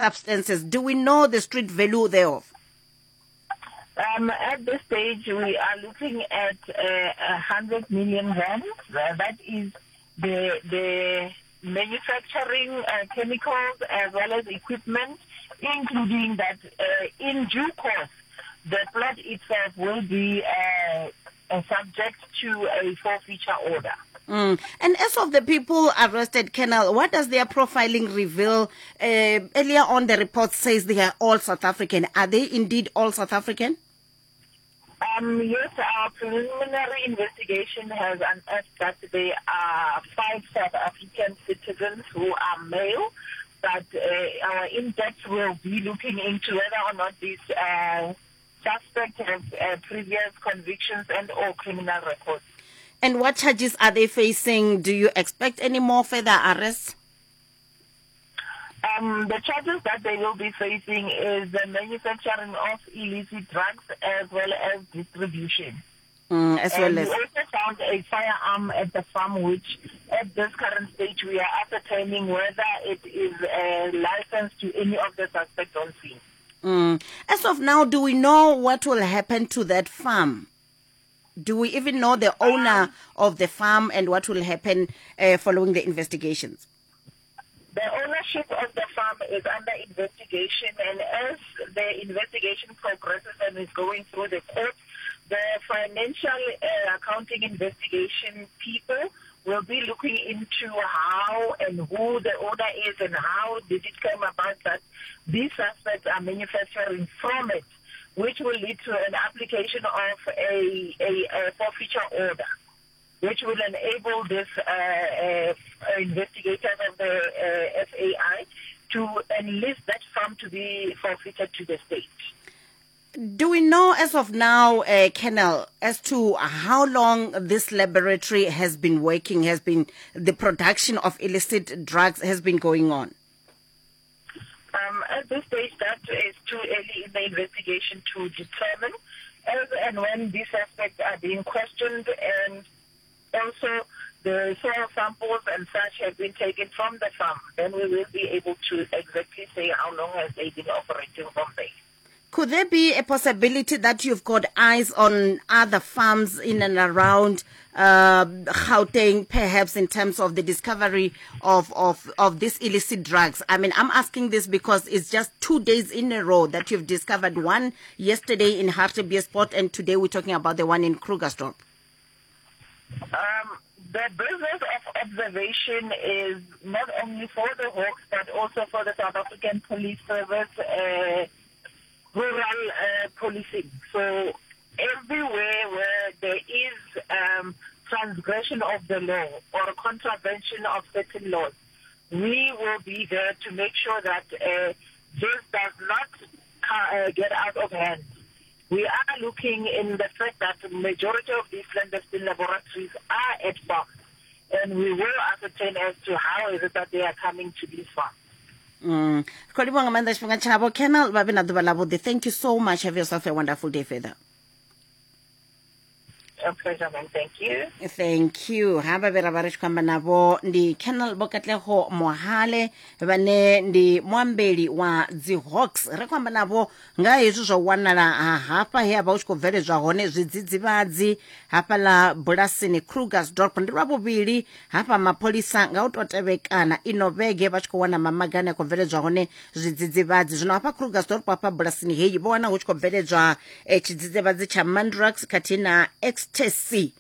Substances. Do we know the street value thereof? At this stage, we are looking at 100 million rand. That is the manufacturing chemicals as well as equipment, including that in due course, the plot itself will be subject to a forfeiture order. And as of the people arrested, Colonel, what does their profiling reveal? Earlier on, the report says they are all South African. Are they indeed all South African? Yes, our preliminary investigation has unearthed that they are 5 South African citizens who are male, but our in-depth will be looking into whether or not these suspects have previous convictions and or criminal records. And what charges are they facing? Do you expect any more further arrests? The charges that they will be facing is the manufacturing of illicit drugs as well as distribution. As well And as we also found a firearm at the farm, which at this current stage we are ascertaining whether it is licensed to any of the suspects on scene. As of now, do we know what will happen to that farm? Do we even know the owner of the farm and what will happen following the investigations? The ownership of the farm is under investigation, and as the investigation progresses and is going through the court, the financial accounting investigation people will be looking into how and who the owner is and how did it come about that these suspects are manufacturing from it, which will lead to an application of a forfeiture order, which will enable this investigators of the SAI to enlist that farm to be forfeited to the state. Do we know as of now, Colonel, as to how long this laboratory has been working, has been the production of illicit drugs has been going on? At this stage, that is too early in the investigation to determine. As and when these suspects are being questioned, and also the soil samples and such have been taken from the farm, then we will be able to exactly say how long has they been operating from there. Could there be a possibility that you've got eyes on other farms in and around Gauteng, perhaps in terms of the discovery of these illicit drugs? I'm asking this because it's just 2 days in a row that you've discovered one yesterday in Hartbeespoort, and today we're talking about the one in Krugersdorp. The business of observation is not only for the Hawks, but also for the South African Police Service, rural policing. So everywhere where there is transgression of the law or contravention of certain laws, we will be there to make sure that this does not get out of hand. We are looking in the fact that the majority of these clandestine laboratories are at farms, and we will ascertain as to how is it that they are coming to these farms. Khou livhuwa nga maanḓa tshifhinga tshavho. Colonel, vha vhe na ḓuvha ḽavhuḓi. Thank you so much. Have yourself a wonderful day further. A pleasure, ma'am. Thank you. Thank you. Ha vha vhe ra vha ri tshi khou amba navho ndi Colonel Vho Katlego Mohale, vhane ndi muambeli wa dzi Hawks. Ri khou amba navho nga hezwi zwa u wanala ha hafha he ha vha hu tshi khou bveledzwa hone zwidzidzivhadzi hafhaḽa bulasini Krugersdorp. Ndi lwa vhuvhili hafha mapholisa nga u tou tevhekana ino vhege vha tshi khou wana mamaga ane a khou bveledzwa hone zwidzidzivhadzi. Zwino hafha Krugersdorp hafha bulasini heyi vho wana hu tshi khou bveledzwa tshidzidzivhadzi tsha Mandrax khathihi na ecstasy,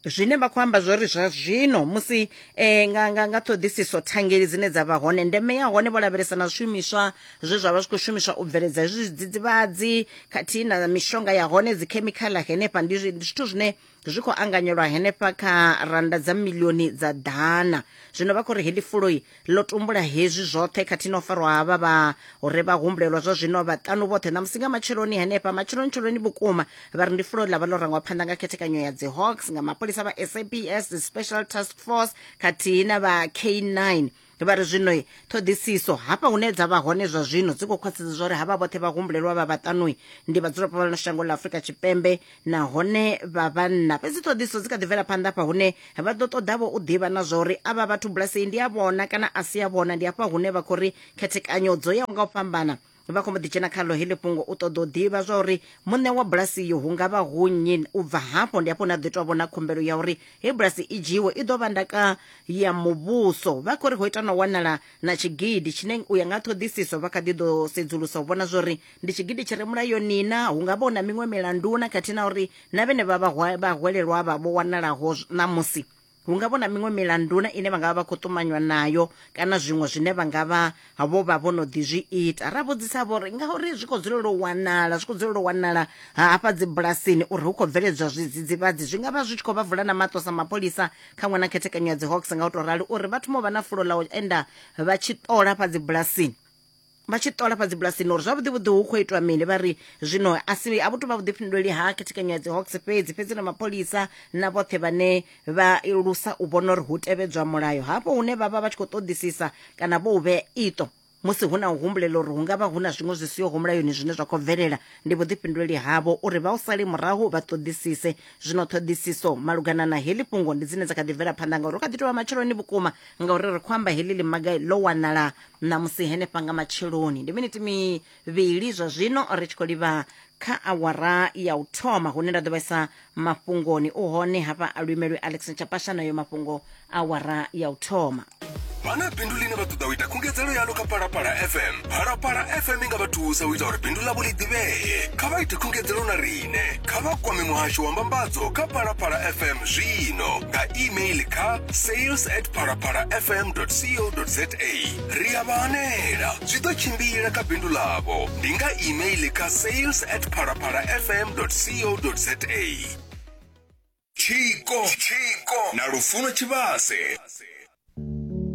zwine vha khou amba zwori zwa zwino musi nga ṱhoḓisiso thangeli dzine dza vha hone, ndeme ya hone vho lavhelesa na zwishumiswa zwe zwa vha zwi khou shumiswa u bveledza hezwi zwidzidzivhadzi khathihi na mishonga ya hone, dzikhemikhala henefha. Ndi zwithu zwine zwi khou anganyelwa henefha kha randa dza milioni dza ḓana. Zwino vha khou ri heḽi fuloi ḽo tumbula hezwi zwoṱhe khathihi na u farwa havha vha uri vha humbulelwa zwa zwino vhaṱanu vhoṱhe ṋamusi nga matsheloni henefha matsheloni tsheloni vhukuma. Vha ri ndi fulo ḽa vha ḽo rangwa phanḓa nga khethekanyo ya dzi Hawks, nga mapholisa vha SAPS, the Special Task Force khathihi na vha K9. Vha ri zwino ṱhoḓisiso hafha hune dza vha hone zwa zwino dzi khou khwaṱhisedza zwa uri havha vhoṱhe vha humbulelwa vha vhaṱanui ndi vhadzulapo vha ḽino shango ḽa Afrika Tshipembe nahone vha vhanna. Fhedzi ṱhoḓisiso dzi kha ḓi bvela phanḓa hafha hune vha ḓo ṱoḓavho u ḓivha na zwa uri avha vhathu bulasi iyi ndi ya vhona kana a si ya vhona. Ndi hafha hune vha khou ri khethekanyo dzo yaho nga u fhambana vha khou mbo ḓi dzhena khaḽo heḽi fhungo u ṱoḓa u ḓivha zwa uri muṋe wa bulasi iyo hu nga vha hu nnyi. U bva hafho ndi hafho hune ha ḓo itwa vhona khumbelo ya uri hei bulasi i dzhiwe i ḓo vha ndaka ya muvhuso. Vha khou ri ho ita na u wanala na tshigidi tshine u ya nga ṱhoḓisiso vha kha ḓi ḓo sedzulusa u vhona zwa uri ndi tshigidi tshi re mulayoni na, hu nga vha hu na miṅwe milandu na khathihi na uri na vhene vha vhahwelelwa avha vho wanalaho ṋamusi hu nga vha hu na miṅwe milandu na ine vha nga vha vha khou ṱumanywa nayo kana zwiṅwe zwine vha nga vha vho vha vho no ḓi zwi ita. Ra vhudzisa vho uri ngauri zwi khou dzulela u wanala, zwi khou dzulela u wanala hafha dzibulasini uri hu khou bveledzwa zwidzidzivhadzi, zwi nga vha zwi tshi khou vha vula na maṱo sa mapholisa kha ṅwe na khethekanyo ya dzi Hawks nga u tou rali uri vha thoma u vha na fulo ḽa u enda vha tshi ṱola hafha dzibulasini, vha tshi ṱola fha dzibulasini uri zwavhuḓi vhuḓi hu khou itwa mini. Vha ri zwino a si a vhu tou vha vhuḓifhinduleli ha khethekanyo ya dzi Hawks fhedzi, fhedzi na mapholisa na vhoṱhe vhane vha lusa u vhona uri hu tevhedzwa mulayo hafho hune vha vha vha tshi khou ṱoḓisisa kana vho u vhea iṱo musi hu na u humbulela uri hu nga vha hu na zwiṅwe zwi siho mulayoni zwine zwa khou bvelela. Ndi vhuḓifhinduleli havho uri vha u sale murahu vha ṱoḓisise. Zwino ṱhoḓisiso malugana na heḽi fhungo ndi dzine dza kha ḓi bvela phanḓa ngauri hu kha ḓi tou vha matsheloni vhukuma, ngauri ri khou amba heḽi ḽimaga ḽo wanala ṋamusi henefha nga matsheloni. Ndi miniti mivhili zwa zwino ri tshi khou livha kha awara ya u thoma hune nda ḓo vhaisa mafhungoni. U hone hafha a luimelwi Alex Nchapasha nayo mafhungo awara ya u thoma. Vha na bindu ḽine vha ṱoḓa u ita khungedzelo yaḽo kha Phalaphala FM. Phalaphala FM i nga vha thusa u ita uri bindu ḽavho ḽi ḓivhee. Kha vha ite khungedzelo na riṋe. Kha vha kwame muhasho wa mbambadzo kha Phalaphala FM zwino nga email kha sales at phalaphalafm co za. Ri a vha hanela, zwi ḓo tshimbila kha bindu ḽavho. Ndi nga email kha sales at phalaphalafm co za. Tshiko na Lufuno Tshivhase.